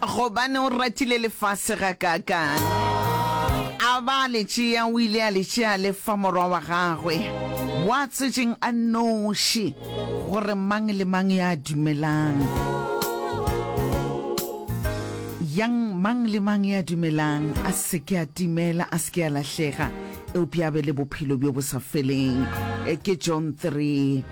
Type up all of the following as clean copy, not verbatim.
Gobane o ratile lefase gakaakang, a ba a le tšea, o ile a le tšea a le fa Morwa wa gagwe wa tswetšeng a nnoši, gore mang le mang ya dumelang, yang mang le mang ya dumelang a se ke a timela, a se ke a lahlega, eupša a be le bophelo bjo bo sa feleng. Ke John 3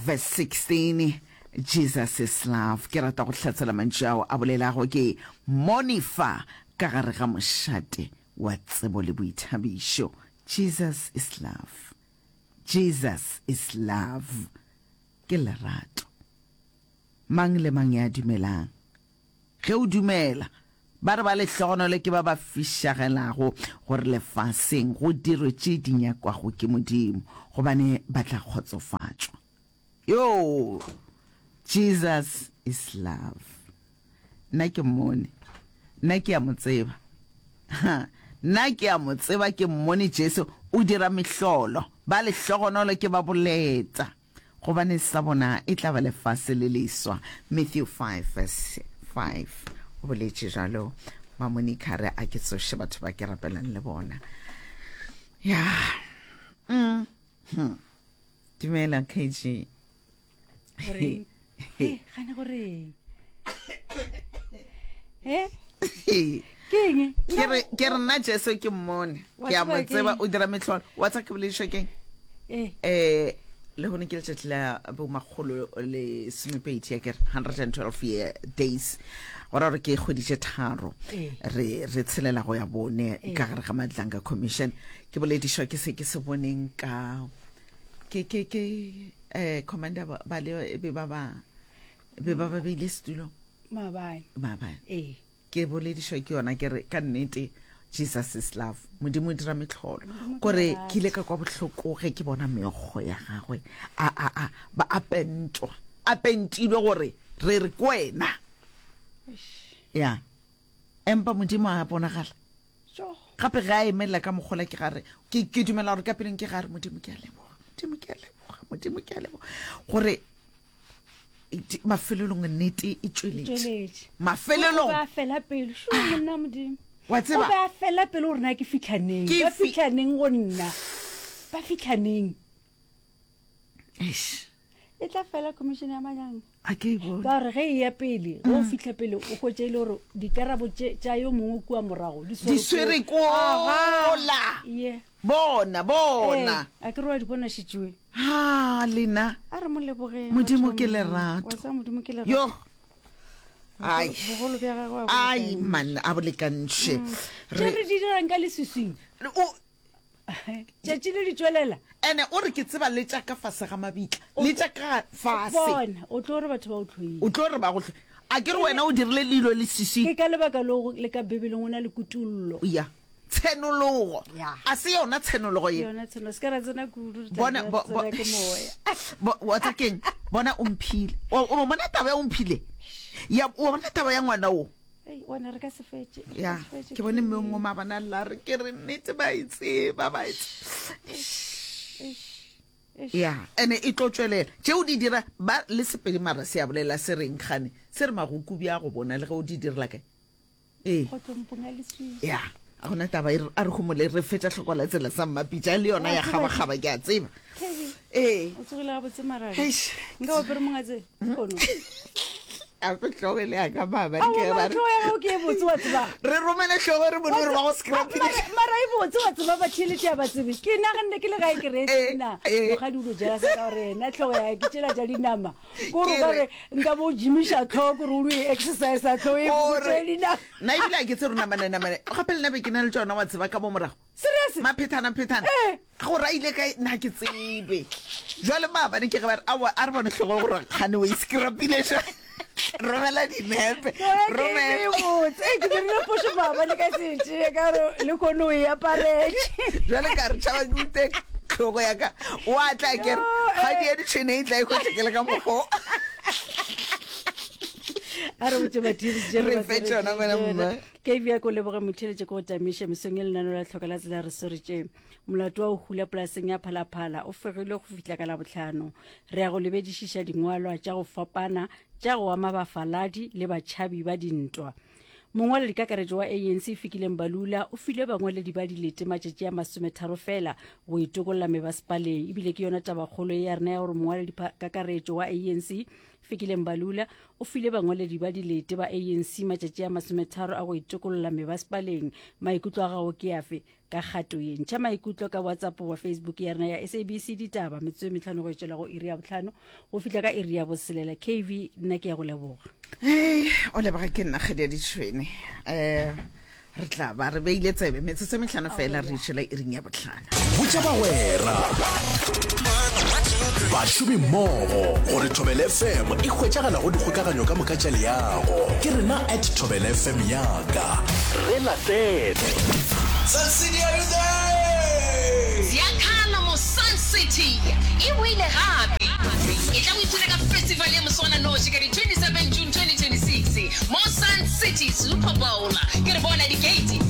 verse 16. Jesus is love. Ke rata go hlatsela mantšu ao a bolelago ke Monifa ka gare ga mošate wa tsebo le boithabišo. Jesus is love. Jesus is love. Ke lerato. Mang le mang ya dumelang. Ge o dumela, ba re ba lehlogonolo ke ba ba fišagelago gore lefaseng go dirwe tše di nyakwago ke Modimo, gobane ba tla kgotsofatšwa. Yoo! Jesus is love. Nna ke mmone. Nna ke a mo tseba. Ha, nna ke a mo tseba, ke mmone Jesu o dira mehlolo. Ba lehlogonolo ke ba boleta, gobane sa bona e tla ba lefase le leswa. Matthew 5 verse 5. O boletše jalo. Mamonica re a ke tsoše batho ba ke rapelang le bona. Ya. Mm. Hmm. Dumela KG. Goreng? Hey, gane goreng? Eh? Ke eng? Ke re ke re nna Jesu ke mmone. Wa Ke a tseba mo tseba keng? o dira mehlolo. Wa tsa ke boledišwa keng? Eh. Eh le gone ke letšatši la bomakgolo le somepedi ya kere 112 year days go ra gore ke kgwedi tše tharo Eh. re re tshelela go ya bone Eh. ka gare ga madlanga commission ke boledišwa ke se ke se boneng ka ke ke ke eh commander ba ba le be ba ba be ba ba beile setulo Maabane. maabane Ee. ke boledišwa ke yona ke re ka nnete jesus is love modimo o dira metlholo Modimo ke kore lerato. ke ile ka kwa bohloko ge ke bona meokgo ya gagwe a a a ba a pentwa a pentilwe gore re re ke wena Eish. ya empa modimo a bonagala Tjo. Gape ge a emelela ka mokgola ke gare, ke, ke dumela gore ka pelong ke gare, Modimo ke a leboga, Modimo ke a leboga, Modimo ke a leboga. Gore mafelelong nnete e tšweletše. Tšweletše. Mafelelong. O be a fela pelo. Šo monna Modimo. Wa tseba? O be a fela pelo gore na ke fihla neng. Ke Ba fi- fihla neng go nna. Ba fihla neng. Eish. E tla fela commission ya manyang. A ke e bone. Ka gore ge e ya pele, ge o fihla pele o hwetša e le gore dikarabo tše tša yo mongwe kua morago di Di swere kola. Ye. Bona, bona. Ee, a ke re wa di bona šetšwe. Ha, lena. A re mo lebogeng. Modimo batho ba ke Modimo. lerato. Wa tseba Modimo ke lerato. Yo. Ai. Bogolo bja gagwe a bo Ai, lekantšhe. man, a bo lekantšhe. Tše re di dirang ka leswiswing. O, Tšatši le di tšwelela. Ene o re ke tseba le tša ka fase ga mabitla, le tša ka fase. Bona, o tlo re batho ba o hloile. O tlo re ba go hloile. A ke re wena o dirile lilo leswiswing. Ke ka lebaka leo le ka Bibeleng o na le kutollo. Ya. Tshenologo. Ya. A se yona tshenologo ye. Ke yona tshenologo. Se ka ra tsena kudu, re tla Bona, re bo, bo, tsena ke moya. bo, wa tsa keng? Bona o mphile. O, o bona taba ya o mphile? Ya, o bona taba ya ngwana wo? Ei, wena re ka se fetše. Re Ya, ka se fetše, ke bone mme o Kenny. mongwe maabane a lla a re ke re nnete ba e tseba ba e Eish, eish. Ya, ene e tlo tšwelela. Tšeo di dira ba le Sepedi mara se a bolela se reng gane? Se re magokubi a go bona le ge o di direla kae? Ee. Kgotlompong ya leswiswi. Ya, a gona taba e re a re homole re fetša hloko la tsela sa mmapitša le yona ya kgabakgaba ke a tseba. Kevin, Ee. o tsogile gabotse mara. Eish. Nka o apere mongatse lehono. Ape hlogo e le ya ka maabane Aowa, ke mara ba re hlogo ya gago ke e botse wa tseba. re romele hlogo re bone gore ba go scrapile. Mara mara e botse wa tseba ba theeletše a ba tsebe. Ke naganne ke le gae ke re Eh, na eh. mokgadi o lo jela sa ka gore yena hlogo ya ke tšela tša dinama. Ko Ke re ka re- re nka bo jimiša hlogo gore o lo e exercise hlogo e Gore botse dinama. nna ebile a ke tse rona manenamane gape le nna be ke na le tšona wa tseba ka mo morago. Serious? Maphethana phethana. Eh. Gore a ile kae nna ke tsebe. Jwale maabane ke ge ba re aowa a re bone hlogo gore kgane o e scrapile jwang. Romela dinepe. Romela. Botse ke dirile phošo maabane ka se tšee ka gore le kgone o e aparetše. Jwale ka re tšhaba ke ute hlogo ya ka. Wa tla ke re Yo, ga eh. di ya ditšhwene e tla e hwetša ke le ka mokgo. A re botše batheeletši re fe tšona ngwana mma. Ke bja ko leboge motheeletši ko go tamiša mesong e lenano la tlhoka la tsela re swaretše molato wa go hula polaseng ya Phalaphala o fegilwe go fihla ka Labohlano. Re ya go lebedišiša dingwalwa tša go fapana tša go ama bafaladi le batšhabi ba dintwa. Mongwaledikakaretšo wa ANC Fikile Mbalula o file bangwaledi ba dilete matšatši a masometharo fela go itokolla mebasepaleng. Ebile ke yona tabakgolo ye ya rena ya gore mongwaledikakaretšo wa ANC Fikile Mbalula o file bangwaledi ba dilete ba ANC matšatši a masometharo a go itokolla mebasepaleng. Maikutlo a gago ke afe ka kgato ye? Ntšha maikutlo ka WhatsApp goba Facebook ya rena ya SABC Ditaba metsotso e mehlano go etšwela go iri ya bohlano go fihla ka iri ya boselela. KV, nna ke ya go leboga. Hei, o leboga ke nna kgadi ya ditšhwene. Um re tla ba re beile tsebe metsotso e mehlano fela re išela iring ya bohlano. Botša bagwera, bašomi mmogo gore Thobela FM e hwetšagala go dikgokaganyo ka moka tša leago. Ke rena at Thobela FM yaka. Re latele. Sun City, are you there? Ziakhala mo Sun City e boile gape! Etla o ipshine ka festival ya moswananoši ka di 27 June 2026 mo Sun City Super Bowl. Ke re bona di-gate.